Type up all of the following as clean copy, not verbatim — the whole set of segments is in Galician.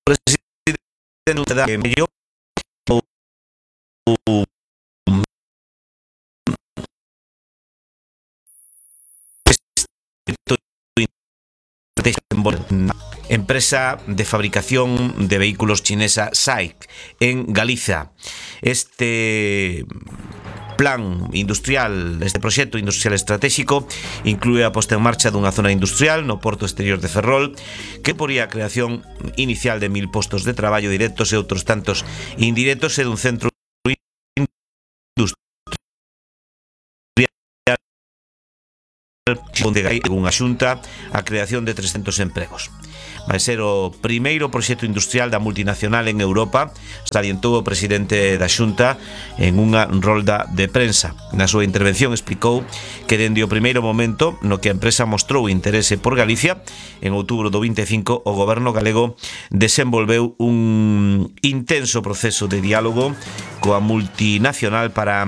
presidente da mellor empresa de fabricación de vehículos chinesa SAIC en Galiza. Este plan industrial, este proxecto industrial estratégico inclúe a posta en marcha dunha zona industrial no porto exterior de Ferrol que poría a creación inicial de 1000 postos de traballo directos e outros tantos indirectos e dun centro onde hai unha xunta a creación de 300 empregos. Vai ser o primeiro proxecto industrial da multinacional en Europa, salientou o presidente da xunta en unha rolda de prensa. Na súa intervención explicou que dende o primeiro momento no que a empresa mostrou interese por Galicia, en outubro do 25 o goberno galego desenvolveu un intenso proceso de diálogo coa multinacional para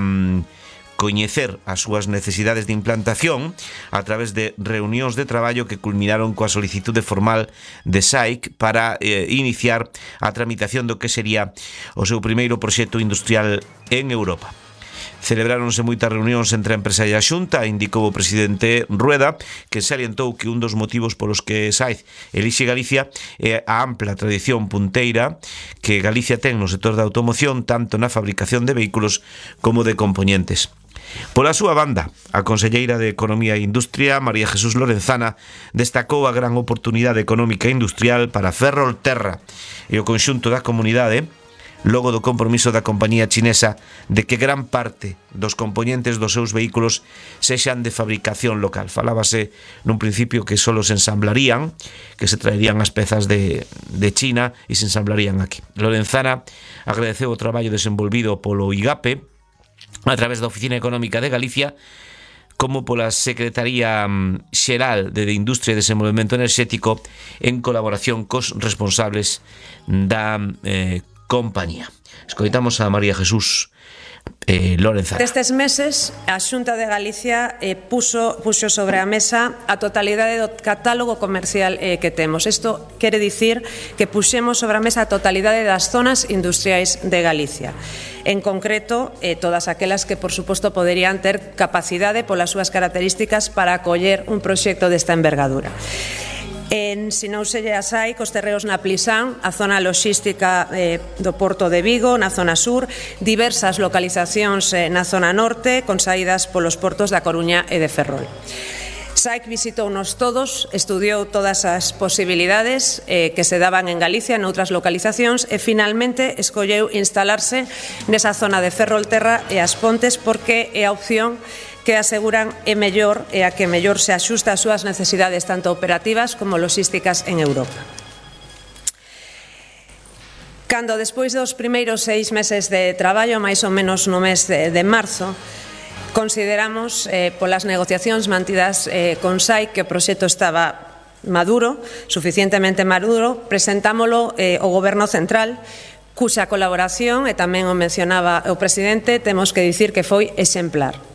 coñecer as súas necesidades de implantación a través de reunións de traballo que culminaron coa solicitude formal de SAIC para iniciar a tramitación do que sería o seu primeiro proxecto industrial en Europa. Celebráronse moitas reunións entre a empresa e a xunta, indicou o presidente Rueda, que salientou que un dos motivos polos que SAIC elixe Galicia é a ampla tradición punteira que Galicia ten no sector da automoción, tanto na fabricación de vehículos como de componentes. Pola súa banda, a conselleira de Economía e Industria, María Jesús Lorenzana, destacou a gran oportunidade económica e industrial para Ferrolterra e o conxunto da comunidade, logo do compromiso da compañía chinesa de que gran parte dos componentes dos seus vehículos sexan de fabricación local. Falábase nun principio que só se ensamblarían, que se traerían as pezas de China e se ensamblarían aquí. Lorenzana agradeceu o traballo desenvolvido polo IGAPE a través da Oficina Económica de Galicia como pola Secretaría Xeral de Industria e Desenvolvemento Enerxético en colaboración cos responsables da compañía. Escoitamos a María Jesús Lorenzana. Destes meses, a Xunta de Galicia puxo sobre a mesa a totalidade do catálogo comercial que temos. Isto quere dicir que puxemos sobre a mesa a totalidade das zonas industriais de Galicia. En concreto, todas aquelas que, por suposto, poderían ter capacidade polas súas características para acoller un proxecto desta envergadura. Ensinouselle a SAIC os terreos na Plisán, a zona loxística do Porto de Vigo, na zona sur, diversas localizacións na zona norte, con saídas polos portos da Coruña e de Ferrol. SAIC visitounos todos, estudiou todas as posibilidades que se daban en Galicia, noutras localizacións, e finalmente escolleu instalarse nesa zona de Ferrolterra e As Pontes porque é a opción que aseguran é mellor e a que mellor se axusta ás súas necesidades tanto operativas como logísticas en Europa. Cando despois dos primeiros 6 meses de traballo, máis ou menos no mes de marzo, consideramos polas negociacións mantidas con SAIC que o proxecto estaba maduro, suficientemente maduro, presentámolo ao Goberno Central, cuxa colaboración, e tamén o mencionaba o presidente, temos que dicir que foi exemplar.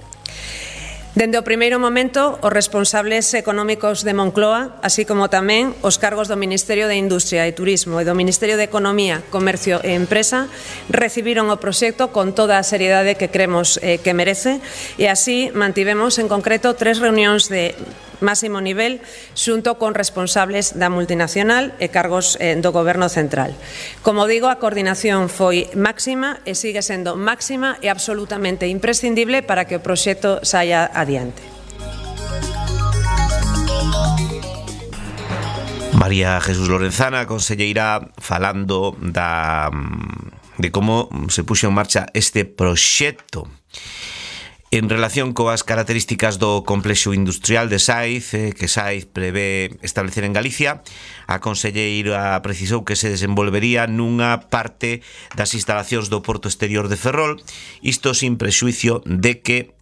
Dende o primeiro momento, os responsables económicos de Moncloa, así como tamén os cargos do Ministerio de Industria e Turismo e do Ministerio de Economía, Comercio e Empresa, recibiron o proxecto con toda a seriedade que cremos que merece e así mantivemos en concreto 3 reunións de máximo nivel xunto con responsables da multinacional e cargos do Goberno Central. Como digo, a coordinación foi máxima e sigue sendo máxima e absolutamente imprescindible para que o proxecto saia adiante. María Jesús Lorenzana, conselleira, falando de como se puxo en marcha este proxecto. En relación coas características do complexo industrial de SAIC, que SAIC prevé establecer en Galicia, a conselleira precisou que se desenvolvería nunha parte das instalacións do porto exterior de Ferrol, isto sin prexuicio de que,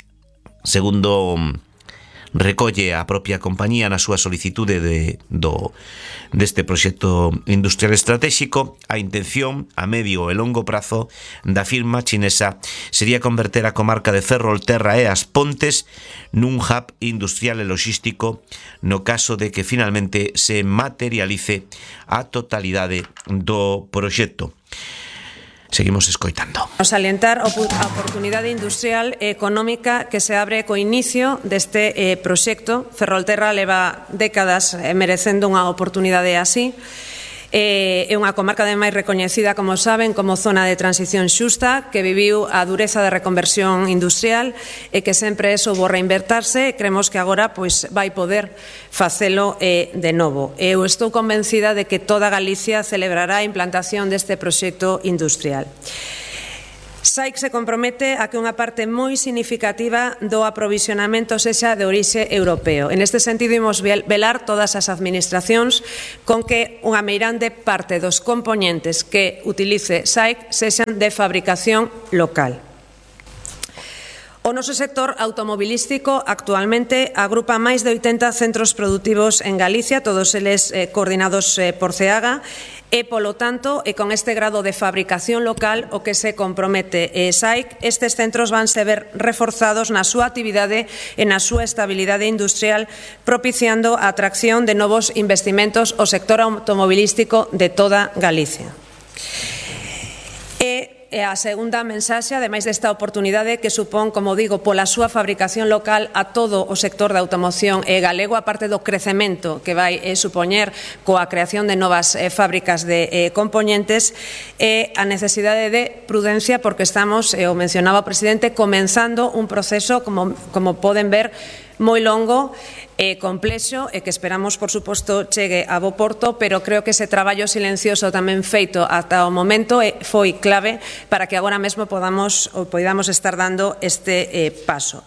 segundo recolle a propia compañía na súa solicitude deste proxecto industrial estratégico. A intención a medio e longo prazo da firma chinesa sería converter a comarca de Ferrolterra e As Pontes nun hub industrial e logístico no caso de que finalmente se materialice a totalidade do proxecto. Seguimos escoitando. Salientar a oportunidade industrial e económica que se abre co inicio deste proxecto. Ferrolterra leva décadas merecendo unha oportunidade así. É unha comarca ademais recoñecida, como saben, como zona de transición xusta, que viviu a dureza da reconversión industrial e que sempre soubo reinvertirse, e creemos que agora vai poder facelo de novo. Eu estou convencida de que toda Galicia celebrará a implantación deste proxecto industrial. SAIC se compromete a que unha parte moi significativa do aprovisionamento sexa de orixe europeo. En este sentido, imos velar todas as administracións con que unha meirande parte dos componentes que utilice SAIC sexan de fabricación local. O noso sector automobilístico actualmente agrupa máis de 80 centros produtivos en Galicia, todos eles coordinados por CEAGA, e, polo tanto, con este grado de fabricación local, o que se compromete SAIC, estes centros vanse ver reforzados na súa actividade e na súa estabilidade industrial, propiciando a atracción de novos investimentos ao sector automobilístico de toda Galicia. E a segunda mensaxe, ademais desta oportunidade que supón, como digo, pola súa fabricación local a todo o sector da automoción galego, a parte do crecemento que vai supoñer coa creación de novas fábricas de componentes, e a necesidade de prudencia, porque estamos, o mencionaba o presidente, comenzando un proceso, como poden ver, moi longo e complexo, e que esperamos, por suposto, chegue a bo porto, pero creo que ese traballo silencioso tamén feito ata o momento foi clave para que agora mesmo podamos estar dando este paso.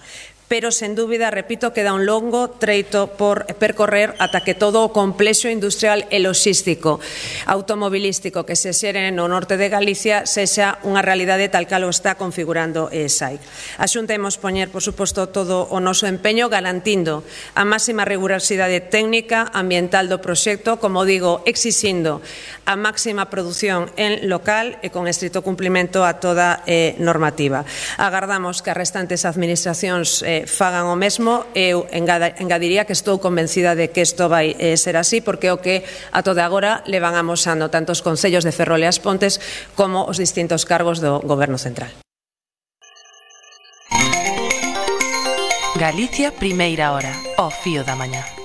Pero, sen dúbida, repito, queda un longo treito por percorrer ata que todo o complexo industrial e logístico automobilístico que se xere no norte de Galicia sexa unha realidade tal cal o está configurando SAIC. A Xunta imos poñer, por suposto, todo o noso empeño garantindo a máxima rigurosidade técnica, ambiental do proxecto, como digo, exixindo a máxima produción en local e con estrito cumprimento a toda normativa. Agardamos que as restantes administracións fagan o mesmo. Eu engadiría que estou convencida de que isto vai ser así, porque o que a toda agora levan amosando tanto os concellos de Ferrol e As Pontes como os distintos cargos do Goberno Central. Galicia, primeira hora, ao fío da mañá.